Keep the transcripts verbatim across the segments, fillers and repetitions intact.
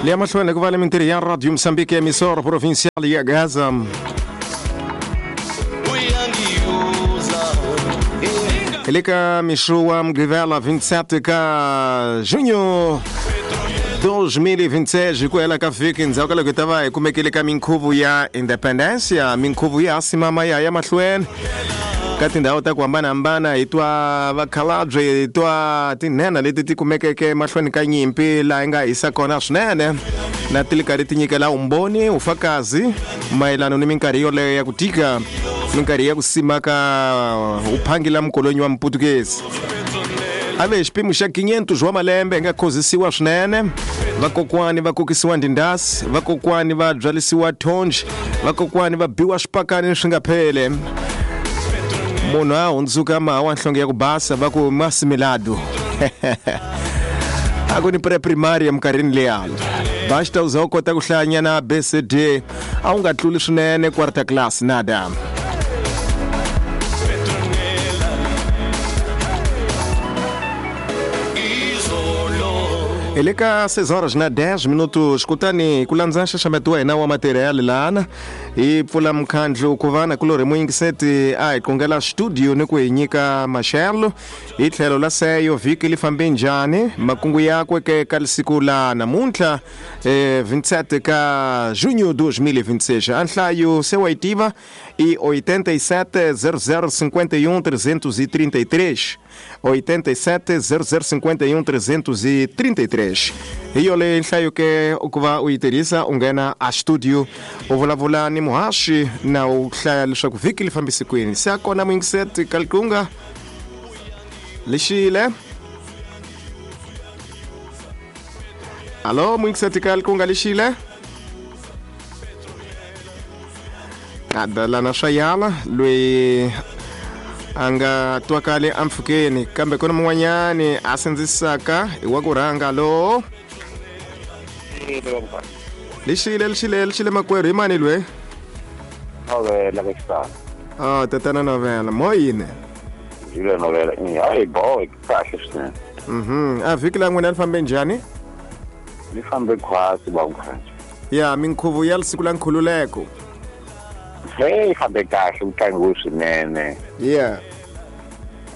Le mahlweni ku va le mintirho ya Radio Moçambique emissora provincial ya Gaza. Hi le ka mixo wa Mugqivela vinte e sete ka junho dois mil e vinte e seis, ku hela ka vhiki ndzhaku ka loko hi ta va hi kumekile ka minkhuvo ya Independencia, minkhuvo ya simama ya ya mahlweni ka tindhawu ta ku hambanahambana. Hi twa vakhalabye, hi twa tinhenha leti ti kumekeke mahlweni ka nyimpi laha yi nga hisa kona swinene, na ti li karhi ti nyikela umbhoni ufakazi mayelana ni minkarhi yoleyo ya ku tika, minkarhi ya ku simaka uphangela mukolonyi wa Muputukezi. A ve xipimo xa quinhentos wa malembe hi nga khozisiwa swinene, vakokwani va kokisiwa ndindasi, vakokwani va byalisiwa thonji, vakokwani va biwa swipakani swi nga phele. Munhu a hundzuka maha wa nhlonge ya ku basa va ku masimilado. A ku ni pre-primary eminkarhini liya, basta u za u kota ku hlayanyana B C D, a wu nga tluli swinene quarter class nada. Hi le ka seis horas na dez minutos, kutani ku landza nxaxameto wa hina wa material lana hi pfula mukhandlu ku va na kulorhi muyingiseti a hi qongela studio ni ku hi nyika maxelo hi tlhelo la seyo vhiki li fambe njhani, makungu yakwe ke ka siku la namuntlha eh, vinte e sete ka junho dois mil e vinte e seis. A nhlayo se wa yi tiva i oitenta e sete zero zero cinquenta e um trezentos e trinta e três, oitenta e sete zero zero cinquenta e um trezentos e trinta e três. Hi yoleyo nhlayo ke ku va u yi tirhisa u nghena a studio u vulavula ni muhaxi na u hlaya leswaku vhiki li fambise kwini. Se a kona muyingiseti ka likunga lexile. Alo muyingiseti ka likunga lexile. Adalana swa yala loyi a nga twakali empfhukeni, kambe ku na mun'wanyani a sindzisaka hi wa ku rhanga. Lo lexile lexile lexile makwerhu, hi mani loyi? Novela ka xitalo. Ah, tatana Novela, mo yini? Jule Novela, hayi boy, kahle swinene. Mhm, a vhiki la n'wina li fambe njhani? Li fambe khwatsi ba mkhanje. Ya, minkhuvo ya siku la nkhululeko. Hey, fambe kahle, ku tlangiwe swinene. Yeah.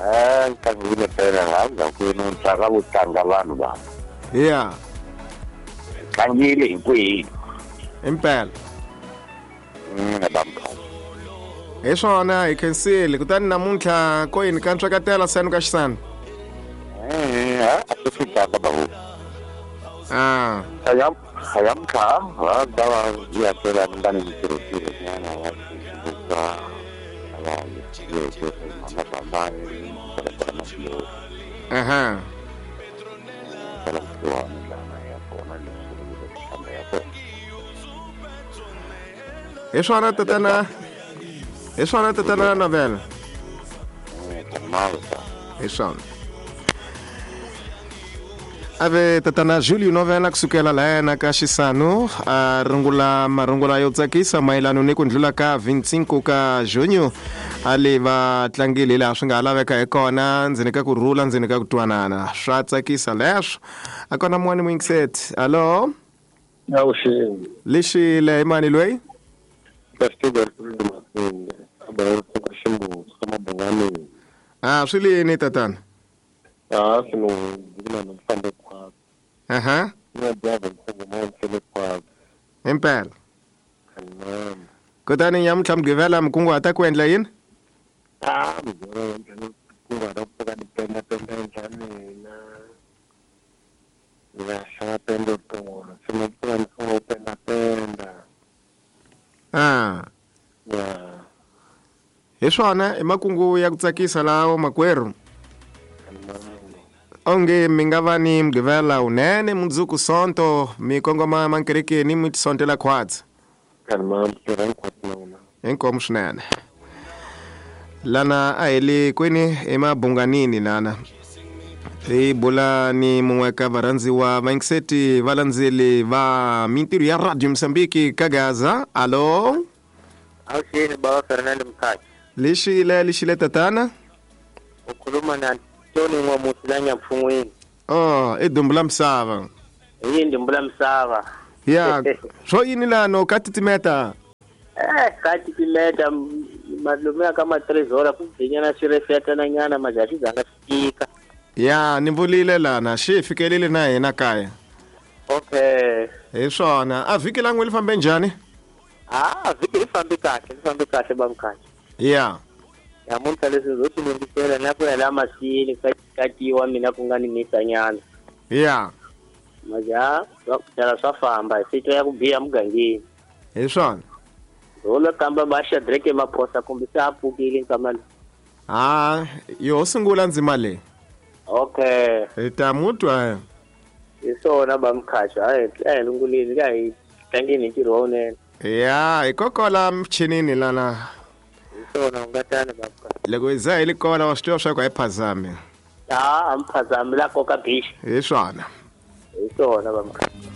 Eh, tlangiwile phela hambi ku no ntsaka vo tlanga vanhu va. Yeah. Tlangile hinkwenu. Impela. Mm, ba mkhanje. Hi swona hi khensile. Kutani namuntlha ko yini ka ntswakatela senu ka xisana? Eh, a swi fikaka babu. Ah. Aya, aya mkha, va ta va ya phela ndani ntirho ntirho nyana wa xibuka. Aya, yo yo mama bamba Aha. Hi swona tatana. Hi swona tatana Novela. Hi swona. Ave tatana Julio Novela kusukela laha ka Xisanu a rungula marungula yo tsakisa mayelana ni ku ndlula ka vinte e cinco ka junho a le va tlangile laha swi nga laveka hi kona, ndzeni ka ku rhula, ndzeni ka ku twanana. Swa tsakisa leswo. A kona mun'wani muyingiseti. Alo? Awuxini. Lexile hi mani loyi? Ah, swi lini tatana? Ah, swi ni fambe khwatsi. Aha. Impela. Kutani nyamuntlha Mugqivela mi kunguhata ku endla yini? Ah, Mugqivela kunguhata ku pfuka ni penda penda endla mina. Ni nga xava pende tolo, se ni pfuka ni sungula ku penda penda. Ah. Yeah. Hi swona i makungu ya ku tsakisa lawo makwerhu. Onge mi nga va ni Mugqivela wunene mundzuku Sonto mi kongoma mankerekeni mi tisontela khwatsi. Inkomu swinene. Lana a hi le kwini emabunganini lana. Hi bula ni mun'we ka varhandziwa vayingiseti valandzeli va mintirho ya Radio Moçambique ka Gaza. Alo? Awuxini baba Fernando Mkhathi. Lexile lexile tatana? U khuluma na Tony N'wamusi la Nyampfungwini. Oh, i dumbu la misava. Hi yini mbula misava. Ya, swo yini lano ka titimeta? Eh, ka titimeta malume ka matrezora ku bvinyana swi refetana nyana majaji zanga fika. Ya, ni vulile lana, xi fikelile na hina kaya. Okay. Hi swona, a vhiki la n'we li fambe njhani? Ah, vhiki li fambe kahle, li fambe kahle bamkhaya. Ya. Namuntlha leswi ndzo swi lunghisela na ku ya la masini ka katiwa mina ku nga ni misanyana. Ya. Maja, swa swa famba, hi swi ya ku biha mugangeni. Hi swona. Rolo kamba ba Shadrack Maphosa kumbe se a pfukile nkamani. Ah, yo sungula ndzima leyi. Okay. Hi ta mutwa. Hi swona bamkhaxa, hayi a hi lunguleni ka hi tlangeni hi ntirho wa wunene. Ya, hi kokola michinini lana. Hi swona u nga tani bamkhaxa. Loko hi za hi li kona wa swi tiva swa ku a hi phazami. Ah, a mi phazami la koka bishi. Hi swona. Hi swona bamkhaxa.